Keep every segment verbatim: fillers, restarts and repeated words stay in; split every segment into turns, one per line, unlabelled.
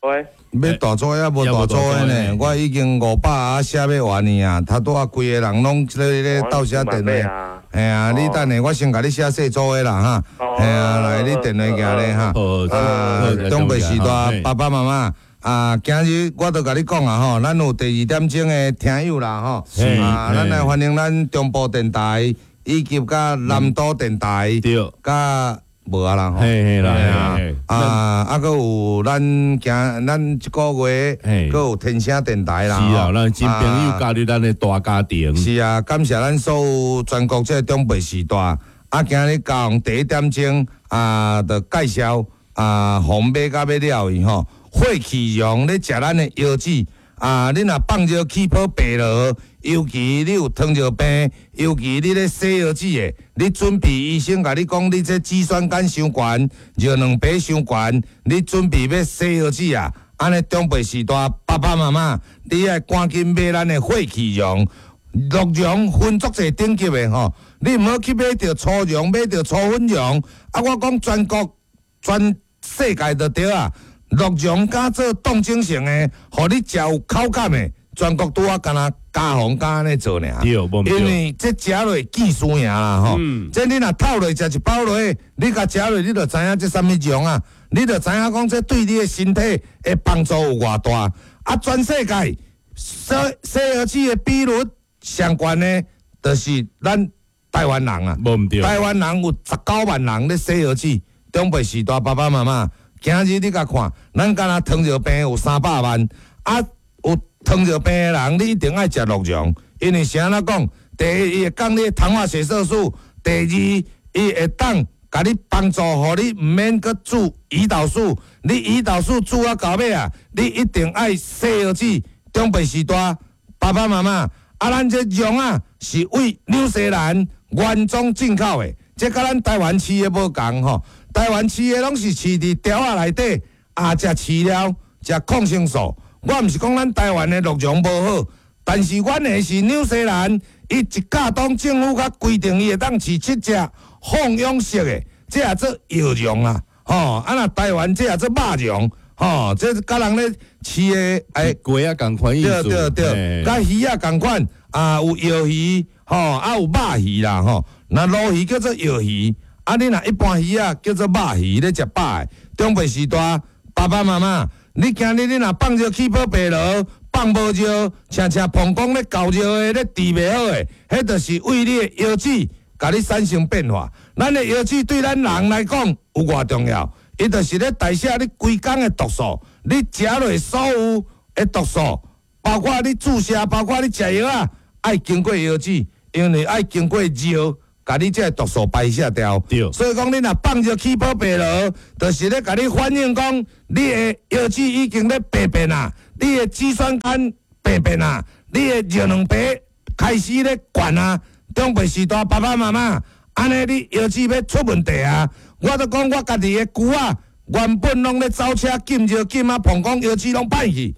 喂，
欲大组的抑無大組的呢？我已經五百啊寫欲完呢啊，頭拄仔規个人攏咧咧鬥寫電話。嘿啊，你等下，我先共你寫細組的啦哈。嘿啊，來，你電話寄來哈。啊，長輩時代爸爸媽媽啊，今日我都共你講啊吼，咱有第二點鐘的聽友啦吼。啊，咱來歡迎咱中部電台以及佮南都電台，佮無啊啦吼，
嘿嘿啦，
啊啊，閣有咱今咱這個月，閣有天聲電台啦，
是啊，咱新朋友加入咱的大家庭。
是啊，感謝咱所有全國這個長輩時代，啊，今日高雄第一點鐘啊，就介紹啊，予買甲欲了去吼，血氣溶咧食咱的腰子啊，你若放尿氣泡白落，尤其你有糖尿病，尤其你咧洗腰子的，你準備醫生共你講，你這肌酸酐傷懸，尿蛋白傷懸，你準備欲洗腰子啊？按呢長輩時代，爸爸媽媽，你愛趕緊買咱的血氣溶，鹿茸分足濟等級的吼，你毋好去買著粗茸，買著粗粉茸。啊，我講全國、全世界就對啊，鹿茸敢做凍精成的，予你食有口感的。全國拄仔敢若加紅敢按呢做爾，因為這食落見輸贏啦吼。這你若透落食一包落，你共食落，你就知影這啥物茸啊？你就知影講這對你的身體的幫助有偌大。啊，全世界洗洗腰子的比率上懸的，就是咱台灣人啊。台灣人有十九萬人咧洗腰子，長輩時代爸爸媽媽，今日你共看，咱敢若糖尿病有三百萬啊，有糖尿病的人，你一定愛食鹿茸，因為是按怎講？第一，伊會降你糖化血色素；第二，伊會當共你幫助，予你毋免閣注胰島素。你胰島素注啊到尾啊，你一定愛洗腰子。長輩時代，爸爸媽媽，啊，咱這茸啊是為紐西蘭原裝進口的，這佮咱台灣飼的無仝吼。台灣飼的攏是飼佇牢仔內底，啊，食飼料，食抗生素。我毋是講咱台灣的鹿茸無好，但是阮的是紐西蘭，伊一甲當政府較規定，伊會當飼七隻放養式的，這也做藥茸啊，吼！啊若台灣這也做肉茸，吼！這佮人咧飼的欸，
雞仔仝款意思，
對對對，佮魚仔仝款啊，有藥魚，吼，啊有肉魚啦，吼。若鱸魚叫做藥魚，啊你若一般魚仔叫做肉魚，咧食飽的。長輩時代，爸爸媽媽。你今日你若放尿氣泡白螺，放無尿，親像膀胱咧搞尿的咧治袂好的，彼就是為你的腰子，共你產生變化。咱的腰子對咱人來講有偌重要？伊就是咧代謝你規工的毒素，你食落所有的毒素，包括你注射，包括你食藥啊，愛經過腰子，因為愛經過尿。共你這个毒素排泄掉，所以講你若放尿氣泡白螺，就是咧共你反映講，你的腰子已經咧病變啊，你的肌酸酐病變啊，你的尿蛋白開始咧懸啊。長輩時代爸爸媽媽，按呢你腰子欲出問題啊！我都講我家己的舅仔，原本攏咧走車禁尿禁啊，膀胱腰子攏歹去，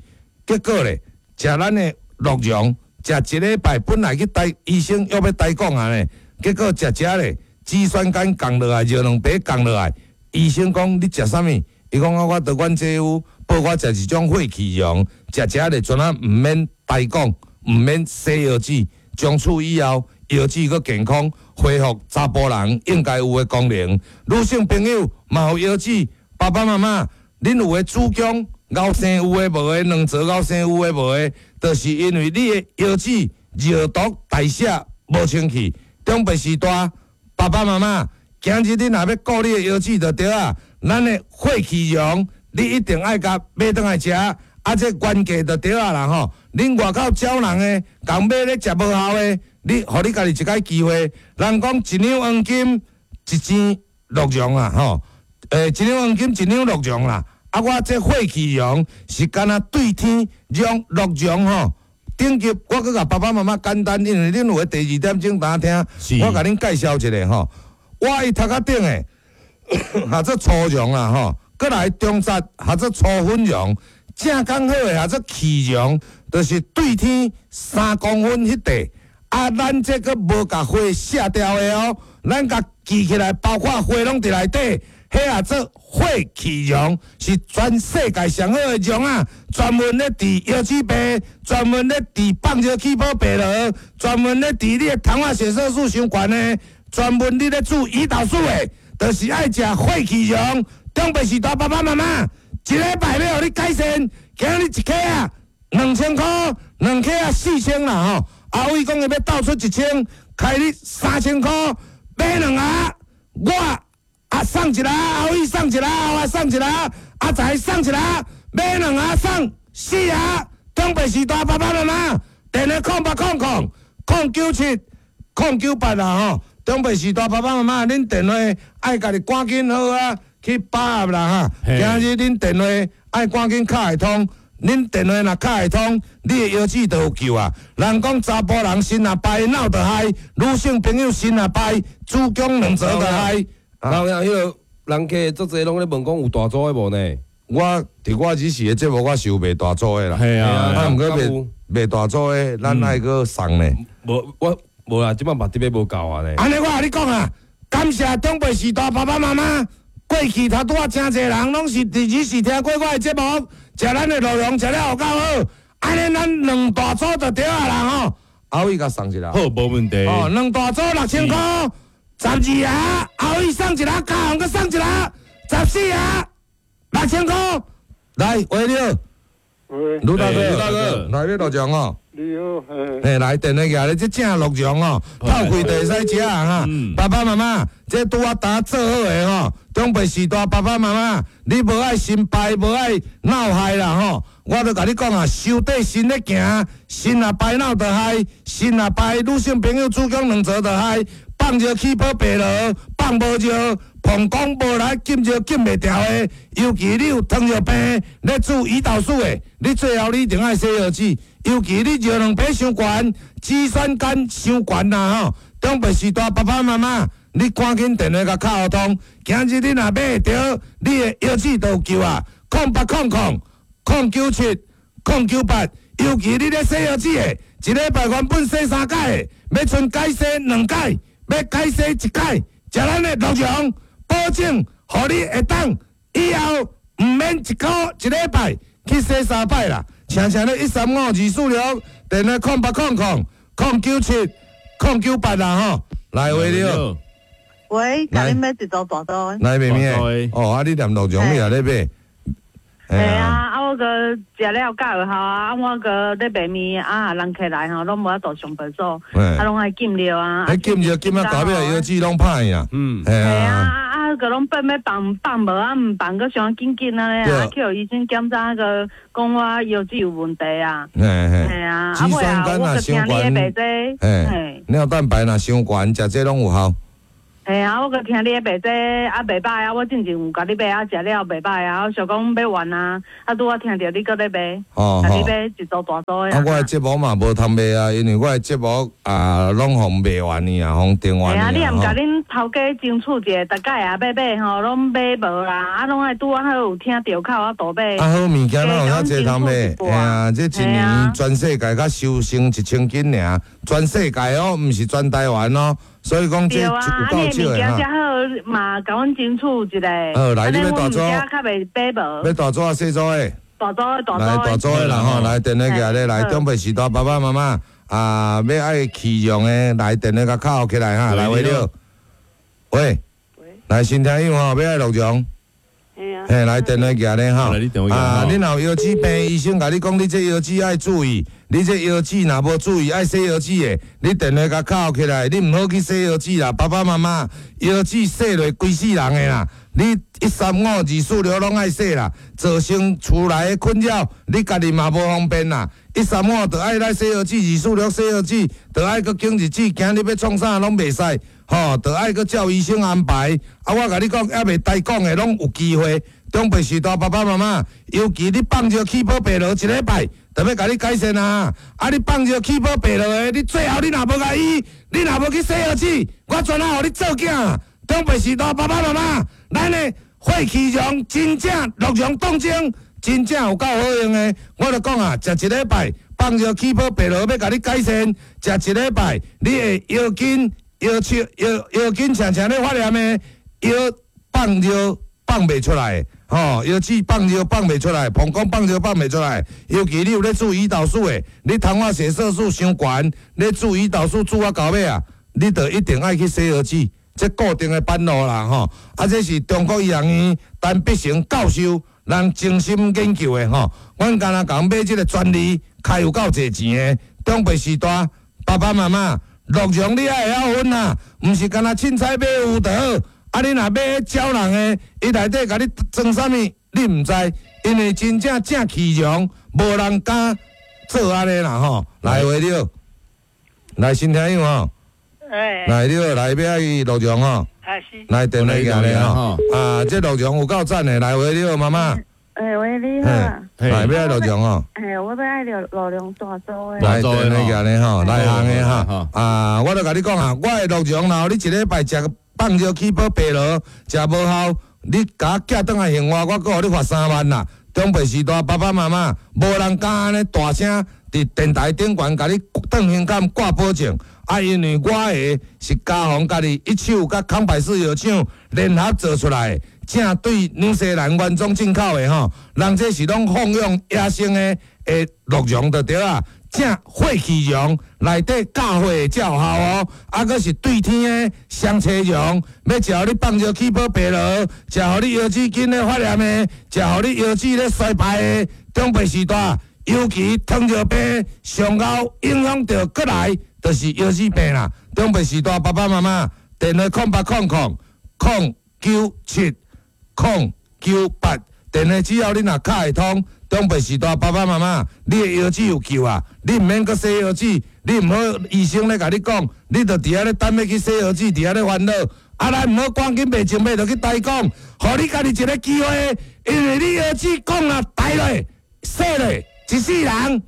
結果咧，食咱的鹿茸，食一禮拜，本來去台醫生約欲台講啊咧。結果食食咧，肌酸酐降落來，尿蛋白降落來。醫生講你食啥物？伊講啊，我著阮姐夫報我食一種血氣溶，食食咧，全啊毋免台講，毋免洗腰子，從此以後腰子閣健康，恢復查埔人應該有的功能。女性朋友嘛有腰子，爸爸媽媽，恁有的子宮𠢕生有的無的，卵巢𠢕生有的無的，就是因為你的腰子尿毒代謝無清氣。長輩時代，爸爸媽媽，今日你若欲顧你的腰子就對啊。咱的血氣溶，你一定愛共買轉來食，啊，這原價就對啊啦吼。恁外口招人的，共買咧食無效的，你予你家己一擺機會。人講一兩黃金一錢鹿茸啊吼，欸，一兩黃金一兩鹿茸啦。啊，我這血氣溶是敢若對天讓鹿茸吼。頂級，我閣共爸爸媽媽簡單，因為恁有的第二點鐘當聽，我共恁介紹一下吼。我伊頭殼頂的，號做粗茸啦吼，閣來中節號做粗粉茸，正剛好的號做氣茸，就是對天三公分彼塊。啊，咱這閣無共花卸掉的哦，咱共記起來，包括花攏佇內底，彼啊做血氣溶，是全世界上好的溶啊！專門咧治腰子病，專門咧治放尿氣泡白螺，專門咧治你的糖化血色素傷懸的，專門你咧注胰島素的，就是愛食血氣溶。中白時大爸爸媽媽，一禮拜欲予你改善，今日一克啊兩千箍，兩克啊四千啦吼。阿偉講伊欲鬥出一千，開你三千箍，買兩盒，我啊送一盒，阿偉送一盒，阿送一盒，阿財送一盒，買兩盒送四盒。中白時大爸爸媽媽，電話空八空空空九七空九八啦吼。中白時大爸爸媽媽，恁電話愛家己趕緊好啊，去把握啦哈。今日恁電話愛趕緊敲會通。恁電話若敲會通，你的腰子就有救啊！人講查埔人身若敗，腦就害；女性朋友身若敗，子宮卵巢就害。
然後彼个人客足濟攏咧問講有大組的無呢？
我佇我這時的節目，我是有賣大組的啦。
係啊，
啊，毋過賣賣大組的，咱愛閣送呢。
無我無啦，這擺嘛特別無夠啊呢。
按呢我共你講啊，感謝長輩時代爸爸媽媽，過去頭拄仔誠濟人攏是佇這時聽過我的節目，食咱的鹿茸食了有夠好，按呢咱兩大組就對啊啦吼。阿偉共送一下。
好，無問題。
哦，兩大組六千箍，十二盒，阿偉送一盒，嘉宏閣送一盒，十四盒，六千箍。來，喂你好，
喂，
盧大哥，
盧大哥，
來欲鹿茸哦。
你好，嘿，
嘿，來電話寄來，這正鹿茸哦，透氣就會使食啊哈。爸爸媽媽，這拄仔焦做好的吼，中白時代爸爸媽媽，你無愛心敗，無愛腦害啦吼。我就共你講啊，收底身咧行，身若敗腦就害，身若敗女性朋友子宮卵巢就害，放尿氣泡白螺，放無尿，膀胱無力，禁尿禁袂牢的，尤其你有糖尿病，咧注胰島素的，你最後你一定愛洗腰子。尤其你尿蛋白傷懸，肌酸酐傷懸啦吼。中白時代爸爸媽媽，你趕緊電話共敲通，今日你若買會著，你的腰子就有救啊！空八空空空九七空九八，尤其你咧洗腰子的，一禮拜原本洗三擺的，欲賰改洗兩擺，欲改洗一擺，食咱的鹿茸，保證予你會當以後毋免一箍一禮拜去洗三擺啦。請請咧一三五二四六，電話空八空空空九七空九八啦吼，來喂你好，
喂，共你買一組大組。
來妹妹，哦，啊你念鹿茸你也咧買？
係啊，啊我閣食了夠有效啊，啊我閣咧賣麵啊，人客來吼，攏無法度上廁所，啊攏愛禁尿啊。
彼禁尿禁啊，到尾腰子攏歹啊。
嗯，
係
啊，啊啊閣攏變欲放放無啊，毋放閣傷緊緊按呢，啊去予醫生檢查閣講我腰子有問題啊。
嘿嘿。
係啊，
肌酸酐若傷懸，嘿，尿蛋白若傷懸，食這攏有效。
嘿啊，我閣聽你咧賣這啊袂歹啊，我進前有共你買啊，食了袂歹啊，我想講欲完啊，啊拄仔聽著你閣咧賣，
哦，
共你買一組大組的。
啊，我的節目嘛無通賣啊，因為我的節目啊攏予賣完去啊，予訂完去啊。
嘿啊，你也毋共恁頭家爭取一下，逐擺啊買買吼，攏買無啦，啊攏愛拄仔好有聽著口啊多買。
啊好物件哪有遐濟通買？嘿啊，這一年全世界才收成一千斤爾，全世界哦，毋是全台灣哦。所以講這有夠少的哈。
遮好嘛，共阮爭取一下。
好，來你欲大組，
較袂買無。
欲大組抑細組的？
大組的，大組
來大組的啦吼，來電話寄來，來長輩時代爸爸媽媽啊，欲愛氣用的，來電話共敲起來哈，來喂你好。喂。來新聽友吼，欲愛鹿茸。嘿，來電話寄咧吼。啊，你若有腰子病，醫生共你講，你這腰子愛注意，你這腰子若無注意，愛洗腰子的，你電話共敲起來，你毋好去洗腰子啦，爸爸媽媽腰子洗落規世人的啦，你一三五二四六攏愛洗啦，造成厝內的困擾，你家己嘛無方便啦。一三五就愛來洗腰子，二四六洗腰子，就愛閣揀日子，今日欲創啥攏袂使，吼，就愛閣照醫生安排。啊，我共你講，猶未該講的攏有機會。長輩時代爸爸媽媽，尤其你放尿氣泡白螺一禮拜，就欲共你改善啊！啊，你放尿氣泡白螺的，你最後你若無共醫，你若無去洗腰子，我全啊予你做囝。長輩時代爸爸媽媽，咱的血氣溶真正鹿茸凍精，真正有夠好用的。我就講啊，食一禮拜放尿氣泡白螺欲共你改善，食一禮拜你的腰筋、腰手、腰腰筋，親像咧發炎的腰放尿。放袂出來，吼，腰子放尿放袂出來，膀胱放尿放袂出來。尤其你有咧注胰島素的，你糖化血色素傷懸，你注胰島素注啊到尾啊，你就一定愛去洗腰子，這固定的班路啦，吼。啊，這是中國醫學院陳必成教授人精心研究的吼。阮敢若共買這個專利，開有夠濟錢的。長輩時代，爸爸媽媽，鹿茸你愛會曉分啊，毋是干焦凊彩買有就好。啊！你若買招人的，伊內底共你裝啥物，你毋知，因為真正正氣容，無人敢做按呢啦吼。來，話你好，來新聽友吼，
欸，
來你好，來欲愛鹿茸吼，
啊是，
來電話寄來吼。啊，這鹿茸有夠讚的，來話你好，媽媽。
欸，喂，你好。
來欲愛鹿茸吼。
欸，我欲愛鹿鹿茸大組的。
來電話寄來吼，內行的哈。啊，我就共你講啊，我的鹿茸，若你一禮拜食放尿起泡白螺，食無效，你共我寄轉來還我，我閣予你罰三萬啦。長輩時代，爸爸媽媽無人敢按呢大聲佇電台頂懸共你斷胸坎掛保證。啊，因為我的是嘉宏家己一手佮康百氏藥廠聯合做出來的，正對紐西蘭原裝進口的吼，人這是攏放養野生的的鹿茸就對啊。正血氣茸內底教火才有效哦，啊，閣是對天的雙青茸，欲食予你放尿起泡白螺，食予你腰子筋咧發炎的，食予你腰子咧衰敗的，長輩時代，尤其糖尿病上後影響著閣來，就是腰子病啦。長輩時代，爸爸媽媽電話空八空空空九七空九八，電話只要你若敲會通。長輩時代，爸爸媽媽，你的腰子有救啊！你毋免閣洗腰子，你毋好醫生咧共你講，你就佇遐咧等欲去洗腰子，佇遐咧煩惱。啊，咱毋好趕緊袂前欲就去抬講，予你家己一个機會，因為你腰子講啊抬落、洗落，一世人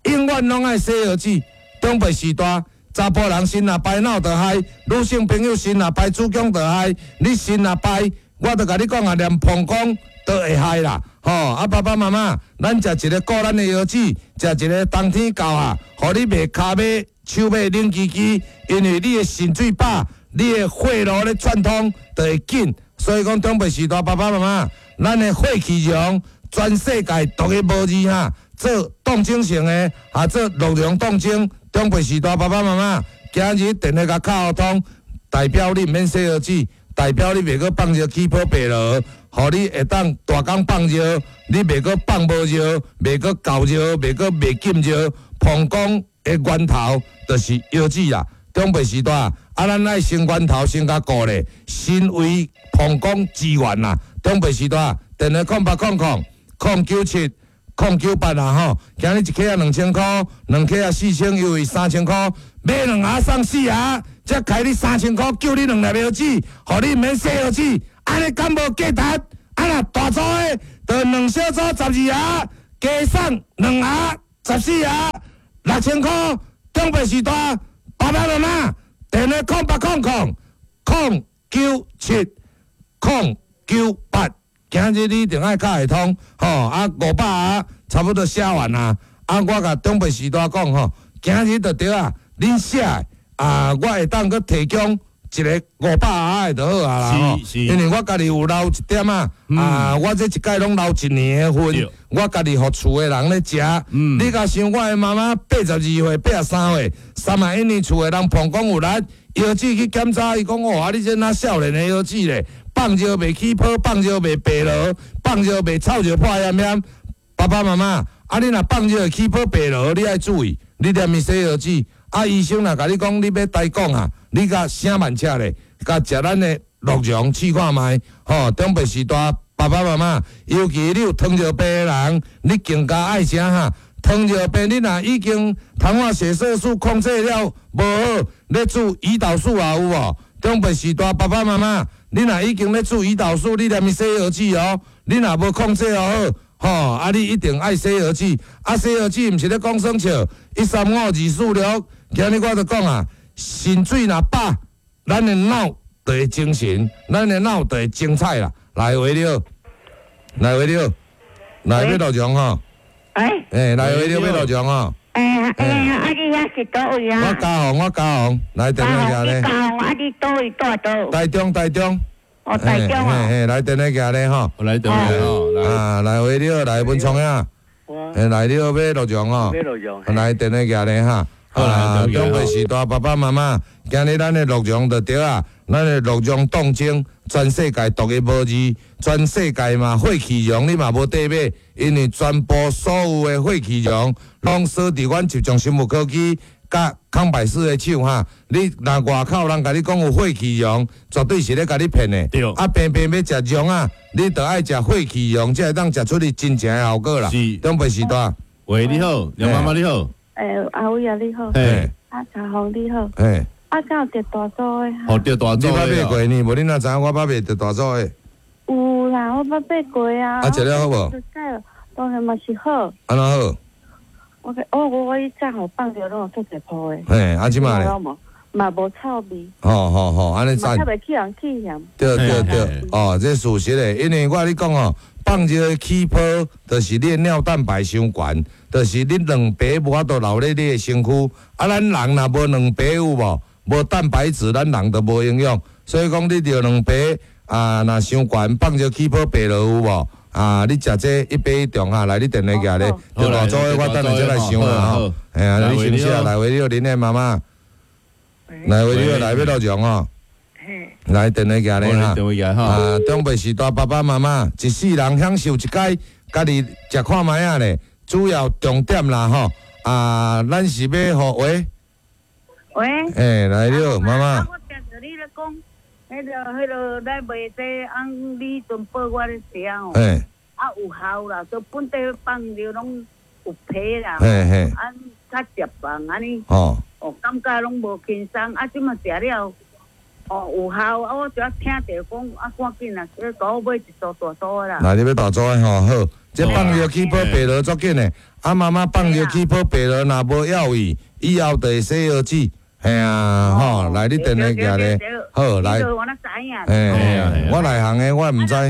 永遠攏愛洗腰子。長輩時代，查埔人腎若排腦就害，女性朋友腎若排子宮就害，你腎若排，我就共你講啊，連膀胱都會害啦。吼！啊，爸爸媽媽，咱食一个顧咱的腰子，食一个冬天到啊，予你袂跤尾、手尾冷吱吱，因為你的腎水飽，你的血路咧貫通就會緊。所以講，長輩時代，爸爸媽媽，咱的血氣茸，全世界獨一無二哈，做凍精性的，啊做鹿茸凍精。長輩時代，爸爸媽媽，今日電話共敲通，代表你毋免洗腰子，代表你袂閣放尿起泡白螺。予你會當大工放尿，你袂閣放無尿，袂閣厚尿，袂閣袂禁尿。膀胱的源頭就是腰子啦。長輩時代，啊，咱愛先源頭先共顧咧，腎為膀胱之源啦。長輩時代，電話空八空空空九七空九八啦吼。今日一克仔兩千箍，兩克仔四千，優惠三千箍，買兩盒送四盒，才開你三千箍，救你兩粒腰子，予你毋免洗腰子。按呢敢無價值？啊若大組的，就兩小組十二盒，加送兩盒十四盒，六千箍。長輩時代，爸爸媽媽，電話空八空空空九七空九八，今日你一定愛敲會通吼。啊，五百盒差不多寫完啦。啊，我共長輩時代講吼，今日就對啊，恁寫的啊，我會當閣提供一个五百盒的就好啊啦吼，因為我家己有留一點仔，啊，我這一擺攏留一年的份，我家己予厝的人咧食。你共想我的媽媽八十二歲、八十三歲，三萬一年厝的人膀胱有力，腰子去檢查，伊講哦，啊你這哪少年的腰子咧，放尿袂起泡，放尿袂白螺，放尿袂臭尿破炎炎。爸爸媽媽，啊你若放尿會起泡白螺，你愛注意，你連伊洗腰子。啊，醫生若共你講你欲抬摃啊，你共寫慢車咧，共食咱的鹿茸試看覓，吼，長輩時代，爸爸媽媽，尤其你有糖尿病的人，你更加愛食哈。糖尿病你若已經糖化血色素控制了無好，咧注胰島素也有無？長輩時代，爸爸媽媽，你若已經咧注胰島素，你連伊洗腰子哦，你若無控制好，吼，啊你一定愛洗腰子，啊洗腰子毋是咧講耍笑，一三五二四六。今日我就講啊，腎水若飽，咱的腦就會精神，咱的腦就會精彩啦。來，喂你好，來喂你好，來欲鹿茸吼。
哎，
欸，來喂你好欲鹿茸吼。
欸欸，啊你遐是佗位啊？
我嘉宏，我嘉宏，來電話來咧。
嘉宏，啊你佗位住佗？
台中，台中。
哦，哦，台中哦。
嘿，來電話寄咧吼。
來電話吼，來。
啊，來喂你好，來文聰啊。
我
來你好，欲鹿茸哦。
欲鹿茸。
來電話寄咧哈。啊，長輩時代爸爸媽媽，今日咱的鹿茸就對啊，咱的鹿茸凍精，全世界獨一無二，全世界嘛血氣茸你嘛無得買，因為全部所有的血氣茸攏鎖佇阮集中生物科技佮康百氏的手哈。你若外口人共你講有血氣茸，絕對是咧共你騙的。
對。
啊，平平欲食茸啊，你著愛食血氣茸，才會當食出你真正的效果啦。
是。
長輩時代。
喂，你好，梁媽媽你好。
欸，阿偉啊，你好。
嘿。
啊，查紅你好。
嘿。
啊，敢有佇大組的？
哦，佇大組。
你捌買過呢？無你哪知影我捌買佇大組的？
有啦，我捌買過啊。
啊，食了好無？
當然嘛是好。
按怎好？
我我我我以前吼放尿攏有足濟泡的。
嘿，啊，這擺咧？
嘛無臭味。
吼吼吼，按呢讚。
嘛較袂去人氣嫌。
對對對，哦，這事實的，因為我共你講哦，放尿起泡，就是你的尿蛋白傷懸，就是你卵白無法度留咧你的身軀。啊，咱人若無卵白有無？無蛋白質，咱人就無營養。所以講，你著卵白啊，若傷懸，放尿起泡白落有無？啊，你食這一百一重哈，來你電話寄咧，著大組的，我等下才來想啦吼。嘿啊，你先寫來，喂，你好，恁的媽媽。來，喂，你好，來欲鹿茸哦。來電話寄咧哈。啊，長輩時代爸爸媽媽一世人享受一擺，家己食看覓仔咧。主要重點啦吼，啊，咱是欲予喂。
喂。
欸，來你好，媽媽。
我聽著你咧講，彼个彼个咱賣這按你陣報我咧食吼。
欸。
啊有效啦，都本地放尿攏有皮啦。
嘿嘿。
啊，較捷棒按呢。
哦。
哦，感覺攏無輕鬆，啊，這馬食了，哦，有效，啊，我就聽著講，啊，趕緊啊，去共我買一組大組的啦。
來，你欲大組的吼，好，這放尿起泡白落足緊的，啊，媽媽放尿起泡白落，若無藥伊，以後就會洗腰子，嘿啊，吼，來，你電話寄咧，好，來，嘿，我內行的，我毋知。
啊，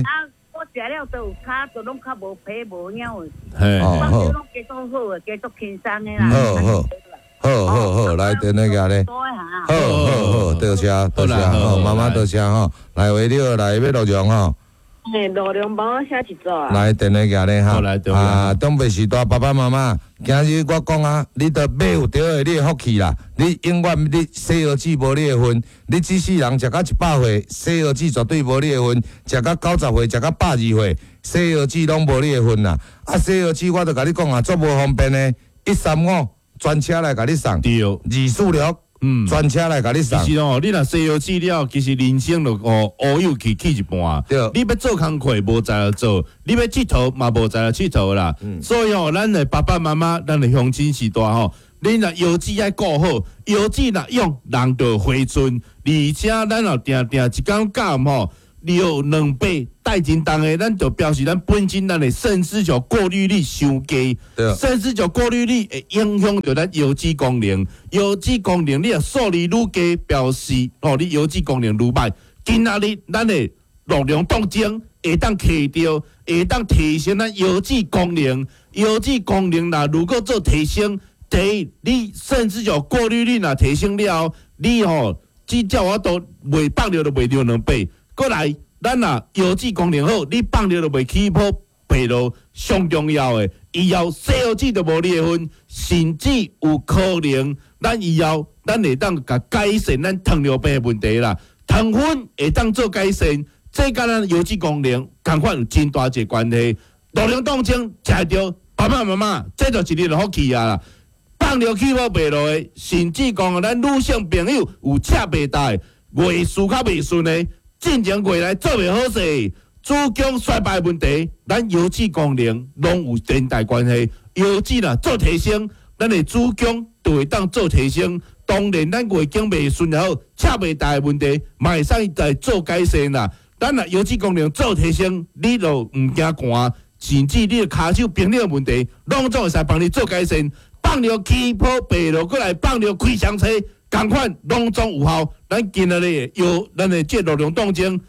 我食了都有跤，都攏較無皮無影的，
哦，好，
攏加足好的，加足輕鬆的啦。
好好。好好好，來電話寄咧。好好好，多謝多謝，好媽媽多謝吼。來喂，你好，來欲鹿茸吼。
嘿，鹿茸幫我寫一組啊。
來電話寄咧哈。啊，長輩時代爸爸媽媽，今日我講啊，你著買有著的，你的福氣啦。你永遠你洗腰子無你的份，你這世人食到一百歲，洗腰子絕對無你的份；食到九十歲，食到百二歲，洗腰子攏無你的份啦。啊，洗腰子我著共你講啊，足無方便的，一三五。專車來共你送，
對，
二四六，嗯，專車來共你送。
其實哦，你若洗腰子了，其實人生就哦烏有去去一半。
對，
你欲做工課無才調做，你欲𨑨迌嘛無才調𨑨迌啦。
嗯、
所以哦，咱的爸爸媽媽，咱的鄉親時代吼，恁若腰子愛顧好，腰子若用，人就回春。而且咱若定定一工到吼，尿兩百帶真重的，咱就表示咱本身咱的腎絲球過濾率傷低，腎絲球過濾率會影響著咱腰子功能，腰子功能你若數字愈低，表示哦你腰子功能愈歹。今仔日咱的鹿茸凍精會當提著，會當提升咱腰子功能，腰子功能若如果做提升，第一你腎絲球過濾率若提升了後，你吼只照我都袂放尿就袂尿兩百。閣來，咱若腰子功能好，你放尿就袂起泡白落。上重要的，以後洗腰子就無你的份，甚至有可能，咱以後咱會當共改善咱糖尿病的問題啦。糖分會當做改善，這佮咱腰子功能仝款有真大一個關係。鹿茸凍精食著，爸爸媽媽，這就是你的福氣啊啦！放尿起泡白落的，甚至講咱女性朋友有赤袂帶、月事較袂順的。進前月來做袂好勢，子宮衰敗問題，咱腰子功能攏有連帶關係。腰子若做提升，咱的子宮就會當做提升。當然，咱月經袂順也好，赤袂帶的問題，嘛會使來做改善啦。咱若腰子功能做提升，你就毋驚寒，甚至你的跤手冰冷的問題，攏總會使幫你做改善。放尿起泡白落過來，放尿開雙車。仝款攏總有效，咱今仔日藥，咱的這鹿茸凍精，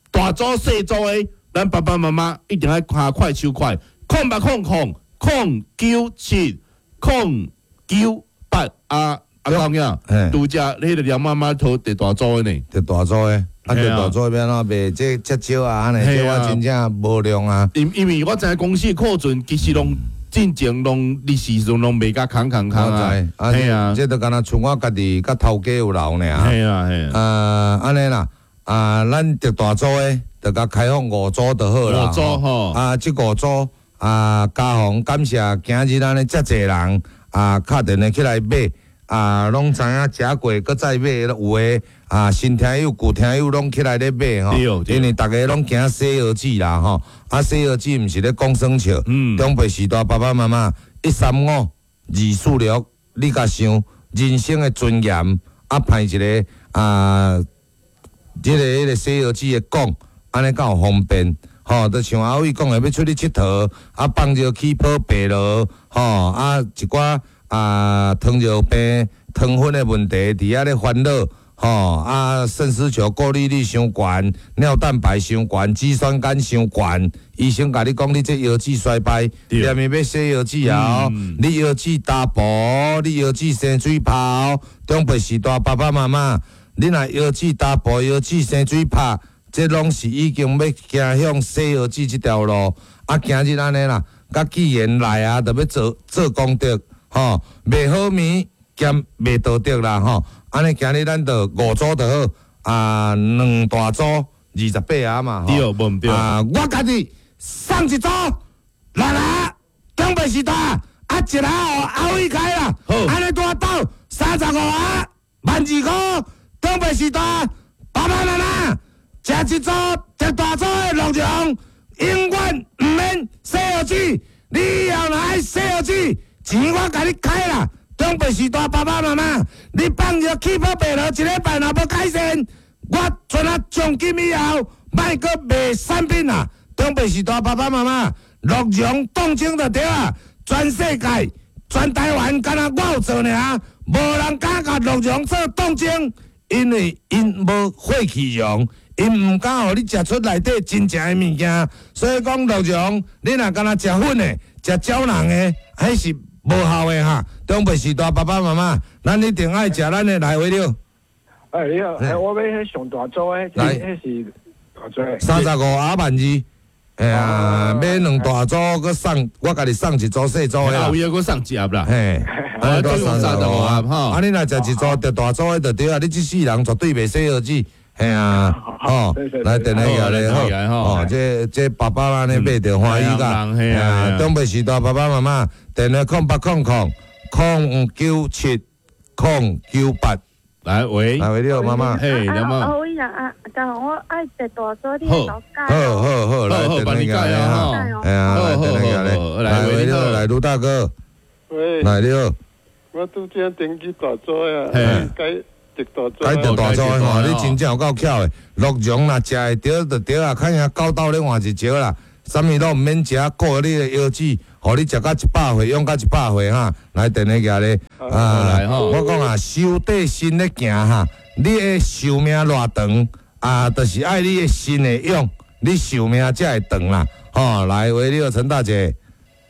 大組細組的，咱爸爸媽媽一定愛跤快手快，空八空空空九七空九八啊！阿公呀，拄則彼个廖媽媽討佇大組的呢，
佇大組的，啊，特大组欲按怎卖？这遮少啊，按呢，这我真正无量啊。
因因为我知影公司的库存其实攏進前攏日時陣攏賣甲空空空啊，
係啊，這就敢若像我家己佮頭家有留爾。
係啊係
啊。啊，按呢啦，啊，咱特大組的就共開放五組就好啦。
五組吼。
啊，這五組啊，家訪感謝今日按呢遮濟人啊，敲電話起來買。啊，攏知影食過，閣再買，有的啊，新聽友、舊聽友攏起來咧買吼，因為逐家攏驚洗腰子啦吼，啊，洗腰子毋是咧講耍笑，長輩時代爸爸媽媽一三五二四六，你共想人生的尊嚴，啊，派一个啊，這個彼个洗腰子的講，按呢敢有方便？吼，就像阿偉講的，欲出去𨑨迌，啊，放尿起泡白落，吼，啊，一寡。啊，糖尿病、糖分的問題，佇遐咧煩惱，吼啊，腎絲球過濾率傷懸，尿蛋白傷懸，肌酸酐傷懸，醫生共你講你這腰子衰敗，連伊欲洗腰子啊，你腰子打薄，你腰子生水泡，長輩時代爸爸媽媽，你若腰子打薄，腰子生水泡，這攏是已經欲行向洗腰子這條路。啊，今日按呢啦，佮既然來啊，就欲做做功德。吼，賣好物兼賣道德啦吼，按呢今日咱就五組就好，啊，兩大組二十八盒嘛，
對，無毋對。
啊，我家己送一組，六盒，長輩時代，啊，一盒予阿偉開啦，按呢拄斗三十五盒，萬二箍，長輩時代，爸爸媽媽，食一組特大組的鹿茸，永遠毋免洗腰子，你以後若愛洗腰子。錢我共你開啦，長輩時代爸爸媽媽，你放藥氣泡白落一禮拜若無改善，我陣仔從今以後莫閣賣產品啦。長輩時代爸爸媽媽，鹿茸凍精就對啊，全世界、全台灣，敢若我有做爾，無人敢共鹿茸做凍精，因為𪜶無血氣溶，𪜶毋敢予你食出內底真正的物件，所以講鹿茸，你若敢若食粉的、食膠囊的，彼是無效的哈，長輩時代爸爸媽媽，咱一定愛食咱的來回了。
哎，你好，哎，我欲彼上大組的，彼是大組。
三十五盒萬二，哎呀，買兩大組，閣送我家己送一組細組的啦。
後尾閣送一盒啦。
嘿，
啊，總三十五盒吼。
啊，你若食一組就大組的就對啊，你這世人絕對袂洗腰子。嘿啊，吼，來電話來好，哦，這這爸爸按呢買著歡喜噶，嘿啊，長輩時代爸爸媽媽，電話空八空空空九七空九八，
來喂，
來喂你好媽媽，
嘿，
阿阿偉啊，啊，剛好我愛特大組，你會改。
好好好，來電話來哈，哎呀，來電話來，來喂你好，來盧大哥，
喂，
來你好，
我拄則登記大組啊，改。
改特大組的吼，你真正有夠巧的。鹿茸若食會著就對啊，較贏九斗咧換一石啦。啥物攏毋免食，顧你的腰子，予你食到一百歲，用到一百歲哈。來電話寄咧啊！我講啊，修短身咧行哈，你的壽命偌長啊，就是愛你的身會勇，你壽命才會長啦。吼，來喂，你好，陳大姐。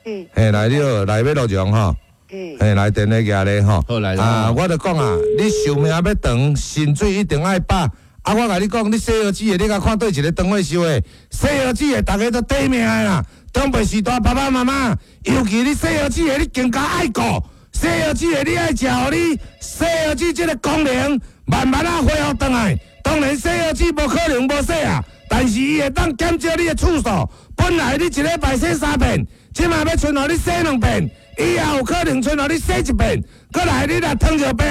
嗯。
嘿，來你好，來欲鹿茸吼。嘿，來電話寄咧吼，啊，我就講啊，你壽命欲長，薪水一定愛飽。啊，我共你講，你洗腰子的，你共看佗一个當歲收的，洗腰子的，逐家都短命的啦。長輩時代爸爸媽媽，尤其你洗腰子的，你更加愛顧。洗腰子的，你愛食，予你洗腰子這個功能慢慢仔恢復轉來。當然洗腰子無可能無洗啊，但是伊會當減少你的次數。本來你一禮拜洗三遍，這馬欲賰予你洗兩遍。以後有可能賰予你洗一遍，閣來你若糖尿病，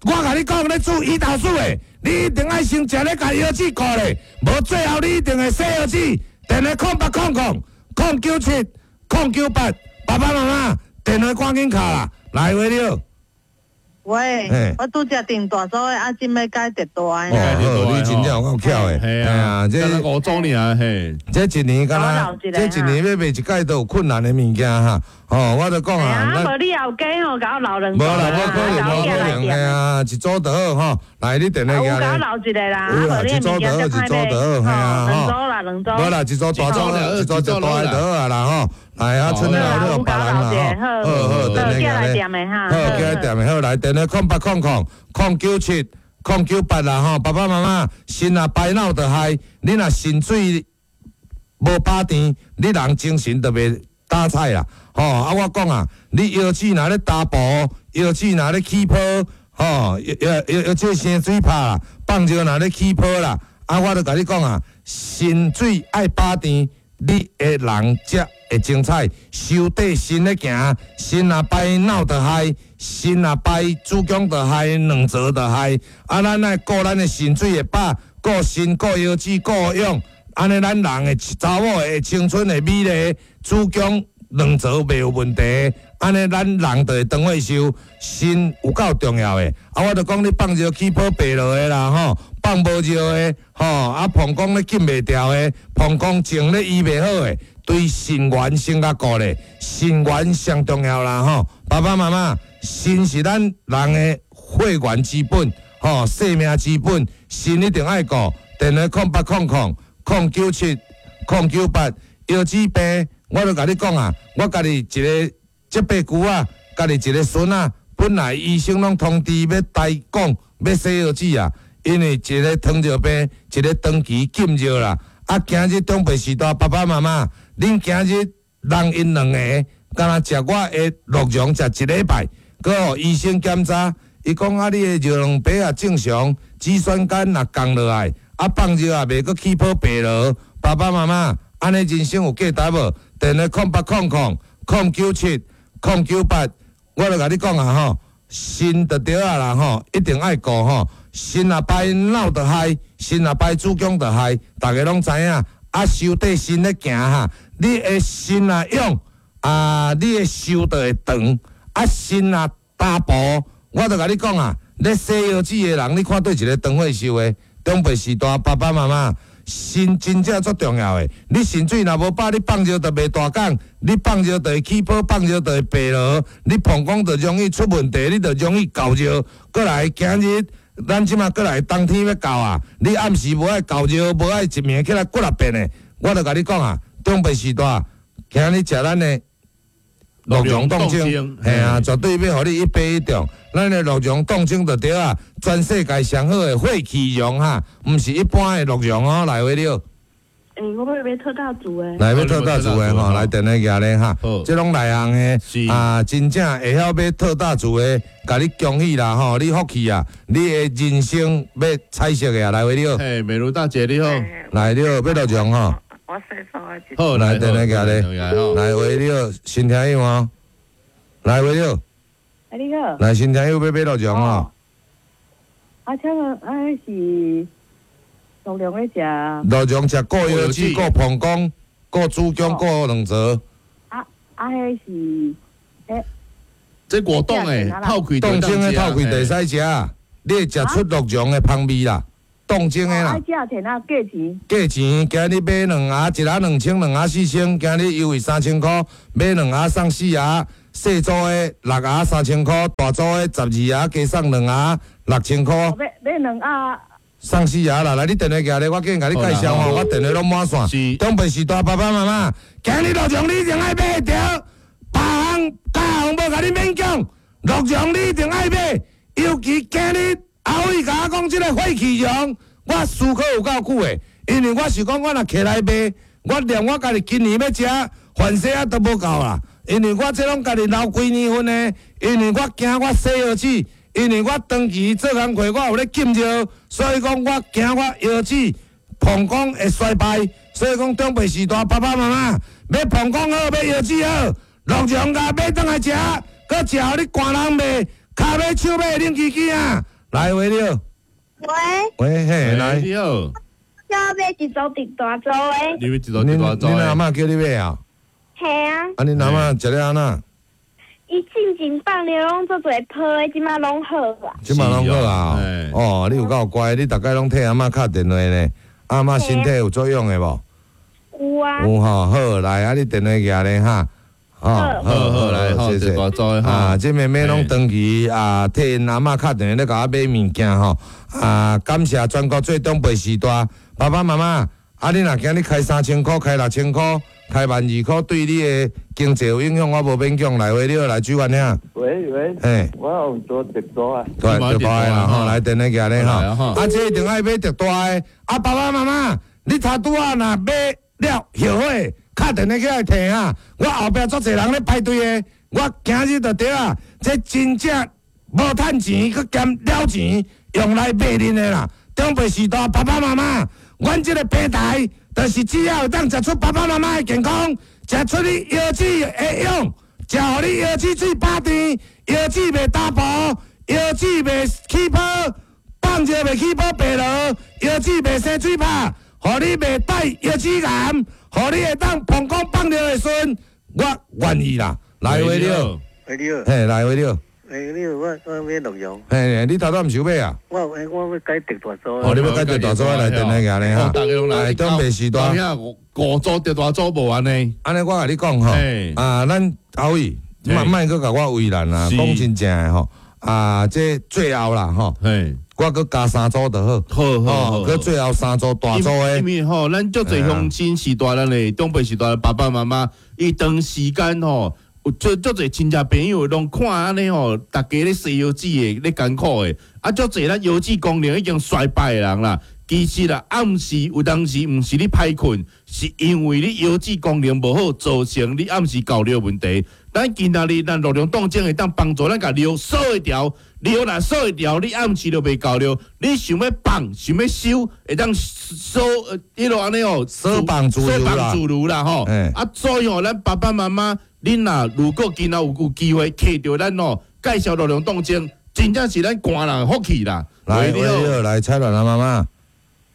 我共你講，咧注胰島素的，你一定愛先食咧，共腰子顧咧，無最後你一定會洗腰子。電話空八空空空九七空九八，爸爸媽媽電話趕緊敲啦，來喂你好。
喂，我拄則訂大組的，啊，這欲改特大的。
哦，好，你真正有夠巧的。
嘿啊，這五組爾，嘿。
這一年敢若，這一年欲賣一擺都有困難的物件哈。哦，我就講啊，
無你後加吼，共我留兩
無啦，無可能，無可能，嘿啊，一組就好吼。來，你電話寄來。
有共我留一个啦，
有啦，一組就好，一組就好，嘿啊，
兩組啦，兩組。
無啦，一組大組，一組就大的就好啊啦吼。來啊，賰了你予別人啦吼。好好，電話寄來。好，寄來店的好，來電話空八空空空九七空九八啦吼，爸爸妈妈，腎若排腦就害，你若腎水無飽甜，你人精神就袂打采啦。吼，啊，我講啊，你腰子若咧打步，腰子若咧起泡，吼，腰腰腰這生水泡啦，放尿若咧起泡啦，啊，我就共你講啊，腎水愛飽甜，你的人才會精彩。收綴腎咧行，腎若排腦就害，腎若排子宮就害，卵巢就害。啊，咱愛顧咱的腎水會飽，顧腎、顧腰子、顧養，按呢咱人的查某的青春會美麗，子宮、卵巢袂有問題，按呢咱人就會長歲壽，腎有夠重要的。啊，我就講你放尿起泡白落的啦，吼，放無尿的，吼，啊，膀胱咧禁袂牢的，膀胱症咧醫袂好的，對腎源先較顧咧，腎源上重要啦，吼。爸爸媽媽，腎是咱人的血緣之本，吼，生命之本，腎一定愛顧。電話空八空空空九七空九八，腰子病。我就共你講啊，我家己一個這伯舅啊，家己一個孫仔，本來醫生攏通知欲台講欲洗腰子啊，因為一個糖尿病，一個長期禁藥啦。啊，今日長輩時代，爸爸媽媽，恁今日人𪜶兩个，敢若食我的鹿茸食一禮拜，閣予醫生檢查，伊講啊，你的尿蛋白也正常，脂酸酐也降落來，啊放尿也袂閣起泡白落，爸爸媽媽，按呢人生有價值無？電話空八空空空九七空九八，我就共你講啊吼，腎就對啊啦吼，一定愛顧吼，腎若排腦就害，腎若排子宮就害，逐家攏知影。啊，收綴腎咧行哈，你的腎若勇啊，你的壽就會長。啊，腎若打步，我就共你講啊，咧洗腰子的人，你看佗一个長歲壽的，長輩時代爸爸媽媽。腎真正足重要的，你腎水若無飽，你放尿就袂大講，你放尿就會起泡，放尿就會白落，你膀胱就容易出問題，你就容易猴尿。閣來今日，咱這馬閣來冬天欲到啊，你暗時無愛猴尿，無愛一暝起來幾若遍的，我就共你講啊，長輩時代，今日食咱的鹿茸凍清，嘿啊，絕對欲予你一發一中。咱的鹿茸凍清就對啊，全世界上好的血氣茸哈，毋是一般的鹿茸哦。來位了。
欸，我欲買特大組的。
來買特大組的吼，來電話寄咧哈。這攏內行的啊，真正會曉買特大組的，共你恭喜啦吼！你福氣啊，你的人生欲彩色的啊，來位了。
嘿，美如大姐你好。
來你好，買鹿茸吼。
我洗手啊！
好，
來電話寄咧。來喂你好，新聽友哦。來喂你好。
哎，你好。
來新聽友欲買鹿茸哦。
啊，請問啊，是鹿茸咧食？
鹿茸食顧腰子、顧膀胱、顧子宮、顧卵巢。
啊啊，彼是，彼。
這果凍的，透氣
凍清的透氣就會使食，你會食出鹿茸的芳味啦。凍清的啦。
愛食錢啊？價錢？
價錢今日買兩盒，一盒兩千，兩盒四千。今日優惠三千箍，買兩盒送四盒。細組的六盒三千箍，大組的十二盒加送兩盒六千箍。
買買兩盒。
送四盒啦！來，你電話寄來，我緊共你介紹吼，我電話攏滿線。長輩時代爸爸媽媽，今日鹿茸你一定愛買著，別項價項無共你勉強，鹿茸你一定愛買，尤其今日阿偉共我講這个血氣茸，我思考有夠久的，因為我是講我若摕來賣，我連我家己今年欲食，番薯仔都無夠啦。因為我這攏家己留幾年份的，因為我驚我洗腰子，因為我長期做工課，我有咧禁尿，所以講我驚我腰子膀胱會衰敗，所以講長輩時代爸爸媽媽欲膀胱好，欲腰子好，鹿茸共買轉來食，閣食予你寒人袂，跤尾手尾冷吱吱啊！來喂你好，
喂，
喂嘿，來
你好，
我欲買一組佇大組的，
你欲一組佇大組
恁阿嬤叫你買啊？
嘿啊！
啊，恁阿嬤食了按怎？
伊進前放尿攏足濟泡的，這馬攏好啊。
這馬攏好啊！哦，你有夠乖，你逐擺攏替阿嬤敲電話呢。阿嬤身體有作用的無？
有啊。
有吼，好來，啊，你電話寄來哈。哦，好好來，謝謝。啊，這妹妹攏長期啊，替𪜶阿嬤敲電話咧，共我買物件吼。啊，感謝全國最長輩時代爸爸媽媽。啊，你若今日開三千箍，開六千箍，開萬二箍，對你的經濟有影響，我無勉強。來，喂，你好，來主管兄。
喂喂，
嘿，
我有做直播啊。
對，特大的啦吼，來電話寄咧吼。啊，這一定愛買特大的。啊，爸爸媽媽，你頭拄仔若買了後悔，敲電話起來提啊。我後壁足濟人咧排隊的，我今日就對啊，這真正無趁錢，閣兼了錢，用來賣恁的啦。長輩序大，爸爸媽媽，阮這個平台，就是只要會當食出爸爸媽媽的健康，食出你腰子會用，食予你腰子水飽甜，腰子袂打薄，腰子袂起泡，放尿袂起泡白螺，腰子袂生水泡，予你袂帶腰子癌，予你會當膀胱放尿會順，我願意啦。來話了，
喂你好，
嘿，來話了。
喂你好，我我欲鹿茸。
嘿，你頭拄毋是有買啊？
我我我欲改特大組。
哦，你欲改特大組來電話寄咧哈。
大家攏來。
長輩時代。
五組特大組無按呢。
按呢，我共你講吼，啊，咱阿偉，莫莫閣共我為難啊，講真正的吼，啊，這最後啦吼，我閣加三組就好，
好好好，
閣最後三組大組的。
因為吼，咱足濟鄉親時代，咱的長輩時代，爸爸媽媽，伊長時間吼。有足足濟親戚朋友攏看按呢吼，逐家咧洗腰子的咧艱苦的，啊足濟咱腰子功能已經衰敗的人啦。其實啦，暗時有當時毋是你歹睏，是因為你腰子功能無好，造成你暗時搞尿問題。咱今仔日咱鹿茸凍精會當幫助咱共尿掃會掉，尿若掃會掉，你暗時就袂搞尿。你想欲放，想欲收，會當掃一路按呢哦，
掃放自如啦，
自如啦吼。啊，所以吼，咱爸爸媽媽。恁若如果今仔有有機會揢著咱哦，介紹鹿茸凍精，真正是咱寒人福氣啦。
來，你好，來蔡蘭阿媽媽。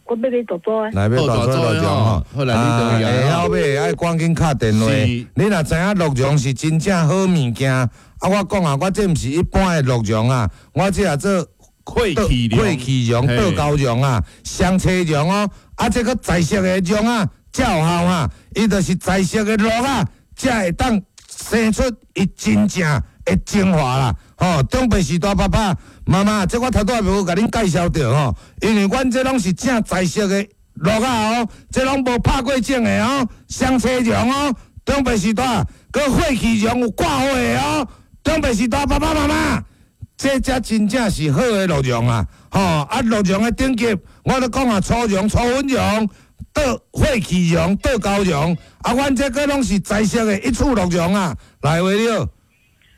我欲買大組的。
來欲大組鹿茸吼。
好來，你
會曉買愛趕緊敲電話。你若知影鹿茸是真正好物件，啊，我講啊，我這毋是一般的鹿茸啊，我這也做
血氣
血氣茸、倒膠茸啊、雙車茸哦，啊，這閣在色的茸啊，才有效啊，伊就是在色的鹿啊，才會當。生出伊真正的精華啦，吼！長輩時代爸爸媽媽，這我頭拄仔無共恁介紹著吼，因為阮這攏是正在色的鹿仔哦，這攏無拍過種的哦，雙車茸哦，長輩時代，閣血氣茸有掛火的哦，長輩時代爸爸媽媽，這才真正是好的鹿茸啊，吼！啊，鹿茸的等級，我咧講啊，粗茸、粗粉茸。倒血氣茸、倒膠茸，啊，阮這閣攏是在色的一處鹿茸啊！來，話了。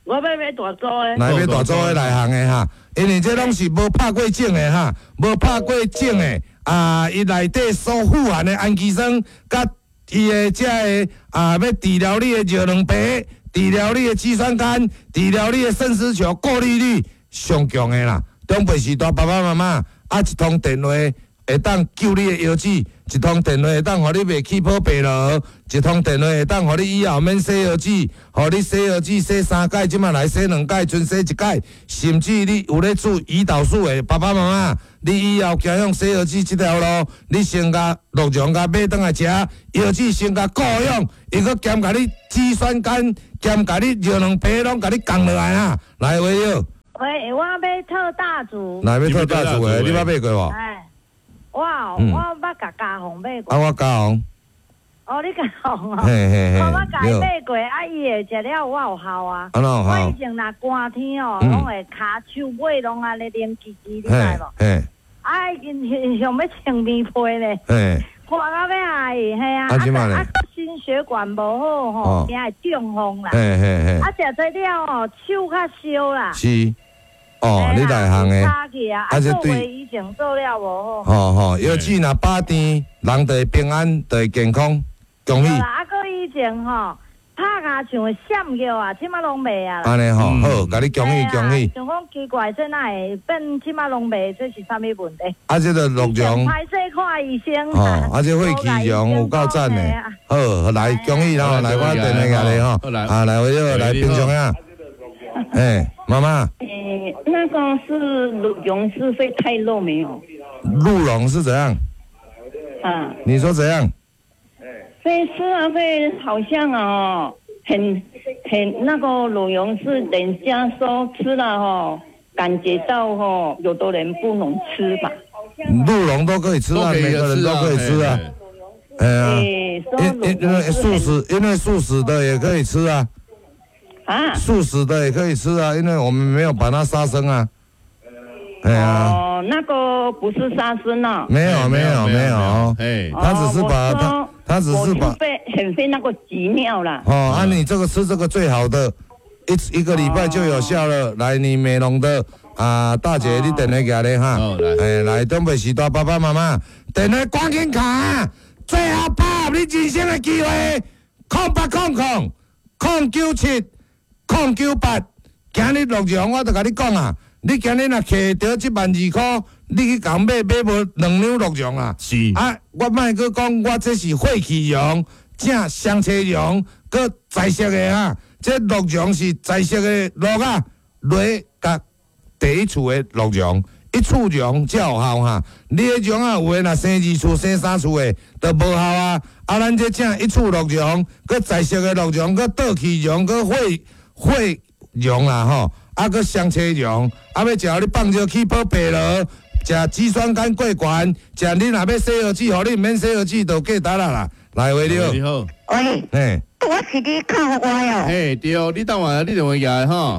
我欲買大組的。
來買大組的內行的哈，因為這攏是無拍過種的哈，無拍過種的啊，伊內底所富含的氨基酸，佮伊的這个啊，欲治療你的尿卵白，治療你的肌酸酐，治療你的腎絲球過濾率上強的啦。長輩時代爸爸媽媽啊，一通電話。會當救你的腰子，一通電話會當予你袂起泡白螺，一通電話會當予你以後免洗腰子，予你洗腰子洗三擺，這馬來洗兩擺，賰洗一擺，甚至你有咧注胰島素的爸爸媽媽，你以後行向洗腰子這條路，你先共鹿茸共買轉來食，腰子先共顧養，伊閣兼共你肌酸酐，兼共你尿卵白攏共你降落來啊！來，話了。
喂，我欲特大組。
來欲特大組的，你捌買過無？
哎。我我捌共嘉宏買過。
啊，我嘉宏。
哦，你嘉宏哦。
嘿嘿嘿。
我捌共伊買過，啊，伊會食了我有效啊。
啊，哪有效？
我以前若寒天哦，攏會跤手尾攏按呢冷吱吱，你知無？
嘿。
啊，已經像欲穿棉被咧。
嘿。
寒到欲死，嘿啊！啊，心血管無好吼，驚會中風啦。
嘿嘿嘿。
啊，食這了哦，手較燒啦。
是。哦，你內行的，
啊，這對以前做了無好。
吼吼，腰子若飽甜，人就會平安，就會健康，恭喜。
啊，閣以前吼，拍跤像會閃叫啊，這馬攏袂啊。
按呢吼，好，共你恭喜恭喜。
想講奇怪，這哪會變這馬攏袂？這是啥物問題？
啊，這個鹿茸。
歹勢看醫生。
吼，啊，這血氣茸有夠讚的。好，來恭喜啦，來我電話共你吼，啊，來我來平常啊。哎，媽媽。
欸，那個是鹿茸是會太肉沒有？
鹿茸是怎樣？
啊？
你說怎樣？
會吃啊，會好像哦，很很那個鹿茸是人家說吃了哦，感覺到哦，有的人不能吃吧？
鹿茸都可以吃啊，每個人都可以吃啊。哎呀，
欸说
因因因为素食，因为素食的也可以吃啊。
啊。
素食的也可以吃啊，因为我们没有把它杀生啊。哎呀，
哦，那个不是杀生啊。
没有没有没有，
哎，
他只是把他
哦我说
他只是把
我就被很费那个急尿啦。
哦，啊，你这个吃这个最好的，一一个礼拜就有效了。来，你美容的啊，大姐，你电话寄来哈。哎，来，中北时代爸爸妈妈，电话赶紧敲，最后把握你人生的机会，空八空空空九七空九八，今日鹿茸我就共你讲啊，你今日若摕著这万二箍，你去共买买无两两鹿茸啊？
是
啊，我莫阁讲，我这是血气茸，正双车茸，阁彩色的啊。这鹿茸是彩色的鹿仔，螺佮第一次的鹿茸，一次茸才有效哈。你的茸仔有的若生二次、生三次的，就无效啊。啊，咱这正一次鹿茸，阁彩色的鹿茸，阁倒气茸，阁血血茸啦吼，啊，阁双车茸，啊，欲食予你放尿气泡白螺。食肌酸酐过悬，食你若欲洗腰子，予你毋免洗腰子，就价值啦啦。来，喂，你好。
你好。
喂，
嘿，
我是你靠我哦。
嘿，对，你等下你电话寄来吼。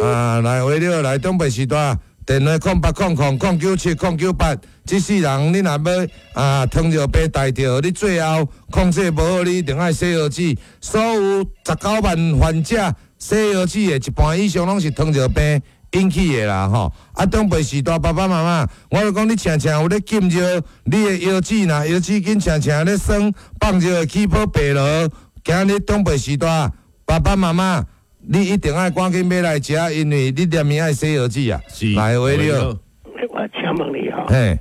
啊，来，喂，你好，来，中北时代，电话空八空空空九七空九八，这世人你若欲啊糖尿病带著，你最后控制无好，你一定爱洗腰子。所有十九万患者洗腰子的一半以上拢是糖尿病引起的啦吼。啊，长辈时代爸爸妈妈，我就讲你常常有咧禁尿，你的腰子若腰子筋常常咧酸，放尿会起泡白螺。今日长辈时代，爸爸妈妈，你一定爱赶紧买来食，因为你连暝爱洗腰子啊。
是。
来，喂，你好。
我请问你吼，
嘿，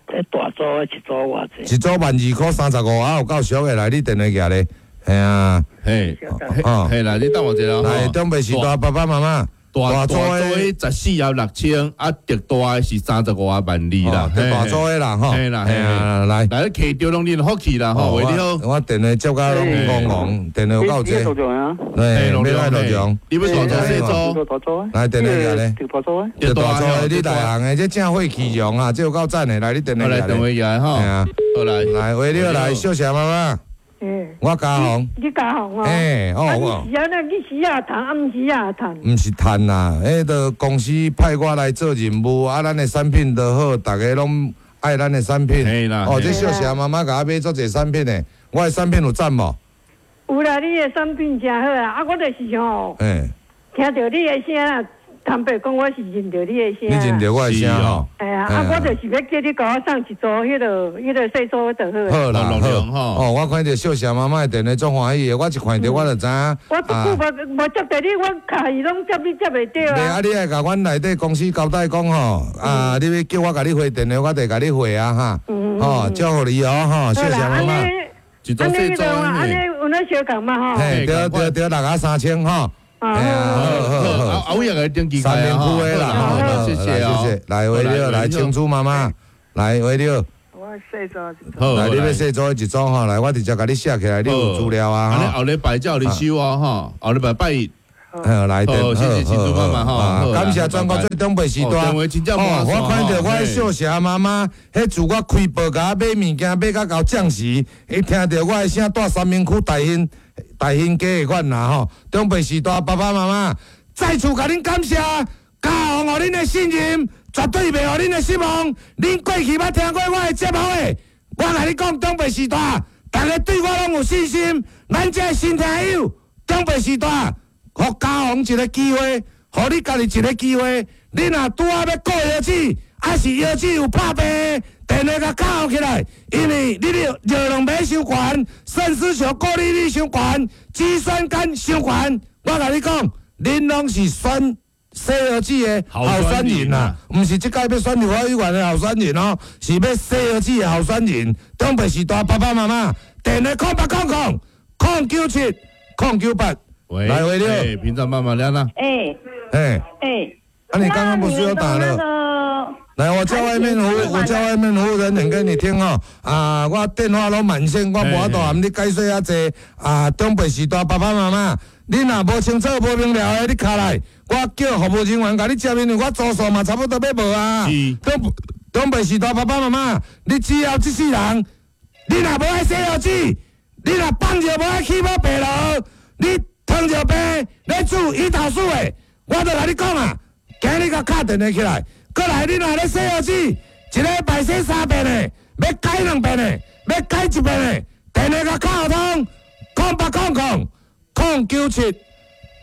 这大组的一组偌济？
一组万二箍三十五，啊有够俗的，来，你电话寄咧，嘿啊，
嘿，
哦，
嘿啦，你等我一下吼。
来，长辈时代爸爸妈妈，
大
大组
组的十四啊六千，啊，特大的是三十五万二啦，
哦大组的啦吼
嘿啦，
嘿啊来
来，你摕著拢恁福气啦吼，喂，你好，
我电话接甲拢戆戆，电话有够济，
嘿，
对，欲来鹿茸，
你欲大组细组？
大组
来电话寄咧，
大组的，
这大组的你内行的，这正血气茸啊，这有够赞的，来你电话
来电话寄来吼，
嘿啊，
好来，
来喂，你好，来小谢妈妈，
欸
我嘉宏，
你嘉宏哦？
嘿哦
啊
我
你是按怎去死啊趁，啊毋是啊趁？
毋是趁啦，彼个公司派我来做任务，啊，咱的产品都好，逐家拢爱咱的产品。哦，
嘿
这小谢妈妈共我买足济产品的，我的产品有赞无？
有啦，你的产品真好啊！啊，我就是吼，
嘿，
听著你的声啊，坦白讲，我是认著你的声。
你认著我的声吼？
哎呀，啊，我就是欲叫你共我送一组彼个彼个细组就好啊。
好啦，好。哦，我看著小谢妈妈的电话足欢喜的，我一看著我就知影。
我足久无无接著你，我敲伊拢接你接袂著
袂啊，
啊。
你爱共阮内底公司交代讲吼，啊，你欲叫我共你回电话，我就共你回啊哈。吼，祝福你哦吼，小谢妈妈。
一
按呢彼个按呢有那相仝嘛吼。
嘿，对对对，六啊三千吼。
啊，
好好好，
啊，我也共登记
三明区的啦，
好，谢谢哦，
谢谢。来，喂你好，来青珠妈妈，来喂你好，
我细组一组。
来，你欲细组的一组吼，来，我直接共你写起来，你有资料啊。
按呢后礼拜才予你收哦吼，后礼拜拜一。
好，来，
好，谢谢青珠妈妈吼，
感谢全国最长辈时代。
哦，
我看著我的小霞妈妈，彼自我开报共我买物件买甲到将时，伊听著我的声，蹛三民区大兴大兴街的款啦吼。长辈时代爸爸妈妈，再次共恁感谢，嘉宏予恁的信任，绝对袂予恁的失望。恁过去捌听过我的节目的，我共你讲，长辈时代，逐家对我拢有信心，咱这新听友，长辈时代。予嘉宏一个机会，予你家己一个机会。你若拄仔欲顾腰子，抑是腰子有拍病，电话共敲起来，因为你尿尿两枚伤悬，肾丝球过滤率伤悬，肌酸酐伤悬。我共你讲，恁拢是选洗腰子的候选人啊，毋是这届欲选立法委员的候选人哦，是欲洗腰子的候选人。长辈时代爸爸妈妈，电话空八空空空九七空九八。
喂，
来喂，你好，
平常妈妈亮啦。
哎
哎
哎，
啊，你刚刚不是有打了？来，我叫外面服务，我叫外面服务人员给你听哦。啊，我电话拢满线，我无法度含你解说遐济。啊，长辈时代爸爸妈妈，你若无清楚、无明了的，你敲来，我叫服务人员共你接，因为我组数嘛差不多欲无啊。长长辈时代爸爸妈妈，你只要这世人你若無愛洗腰子，你若放尿無愛起泡白螺，你糖尿病咧注胰島素的，我就共你講啊，今日共敲電話起來，閣來你若咧洗腰子，一禮拜洗三遍的，欲改兩遍的，欲改一遍的，電話共敲通，空八空空空九七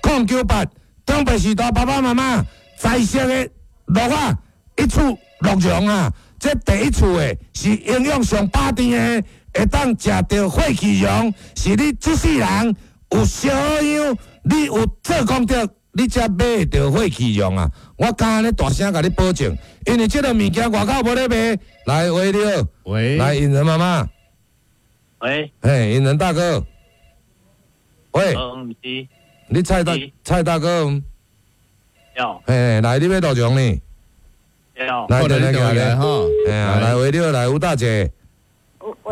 空九八，長白時代爸爸媽媽在色的鹿仔一處鹿茸啊，這第一處的是營養上飽甜的，會當食著血氣茸，是你這世人有小養，你有做功德，你才買會著血氣茸啊！我敢按呢大聲共你保證，因為這个物件外口無咧賣。來，喂你好，
喂，
來引人媽媽，
喂，
嘿，引人大哥，喂，
嗯，是，
你蔡大蔡大哥，
有，
嘿，來，你欲鹿茸呢？
有，
來，電話過來
吼，
嘿啊，來，喂你好，來吳大姐，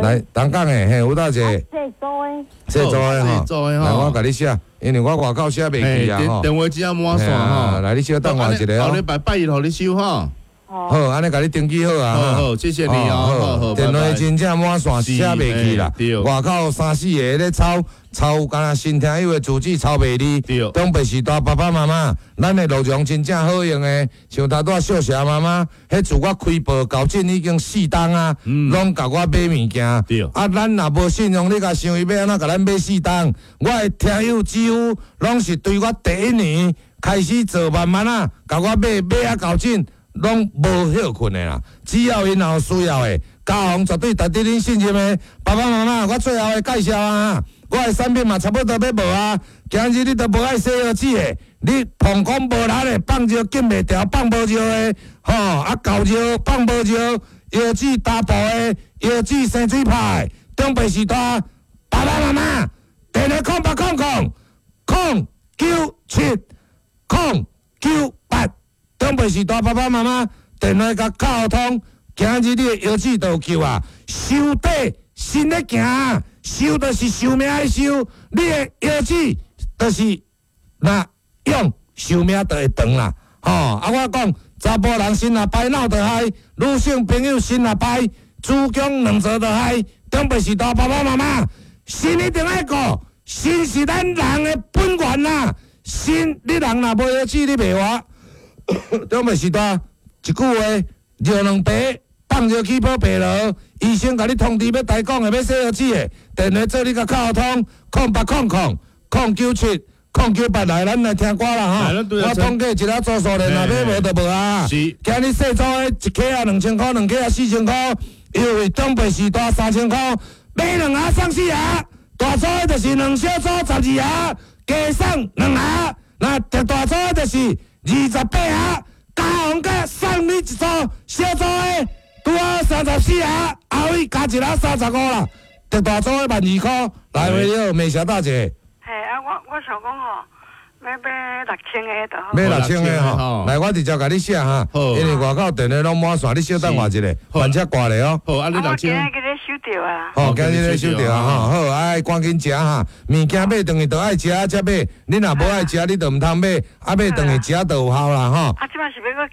來東港的，嘿，吳大姐，
細組的，
細組的吼，
細組的吼
來，我共你寫，因為我外口寫袂記啊吼。
電話只要滿線吼，
來，你小等我一下
後禮拜拜一予你收吼。
好，按呢共你登記好啊。
好好，謝謝你哦。好好，
電話真正滿線寫袂去啦。外口三四個咧抄抄，敢若新聽友的住址抄袂離。
對。
長輩時代爸爸媽媽，咱的鹿茸真正好用的，像頭拄仔小霞媽媽，彼自我開播到這已經四冬啊，攏共我買物件。
對。
啊，咱若無信用，你共想伊欲按怎共咱買四冬？我的聽友幾乎攏是對我第一年開始做，慢慢啊，共我買買啊到這。攏無歇睏的啦，只要𪜶若有需要的，家訪絕對值得恁信任的。爸爸媽媽，我最後會介紹啊，我的產品嘛差不多欲無啊。今日你都無愛洗腰子的，你膀胱無力的，放尿禁袂牢，放無尿的，吼啊厚尿放無尿，腰子打步的，腰子生水泡的，長輩時代，爸爸媽媽，電話空八空空空九七空九八。長輩時代爸爸媽媽電話共敲通，今日你的腰子就有救啊！壽底身咧行，壽就是壽命的壽，你的腰子就是若用壽命就會長啦。吼！啊，我講查埔人身若歹，腦就害；女性朋友身若歹，子宮卵巢就害。長輩時代爸爸媽媽，身一定愛顧，身是咱人的本源啊！身你人若無腰子，你袂活。長輩時代一句話，尿兩白，放尿起泡白螺，醫生共你通知欲台講的，欲洗腰子的，電話做你共敲通，空八空空空九七空九八來，咱來聽歌啦吼。我統計一下做數咧，若買無就無啊。
是。
今日細組的一克啊兩千箍，兩克啊四千箍，優惠長輩時代三千箍，買兩盒送四盒，大組的就是兩小組十二盒，加送兩盒，那特大組的就是。二十八盒，加紅佮送你一組小組的，拄好三十四盒，後尾加一盒三十五啦。特大組的萬二箍，來喂你好，美霞大姐。
嘿，啊，我我想講吼，欲買六千个就好。
買六千个吼，來我直接共你寫哈，因為外口電話攏滿線，你小等我一下，慢車掛咧哦。
好，啊你六千。
我今日去收著啊。
好，今日咧收著啊，吼，好，愛趕緊食哈，物件買轉去就愛食才買，你若無愛食，你就毋通買，啊買轉去食就有效啦，吼。
啊，這擺是欲閣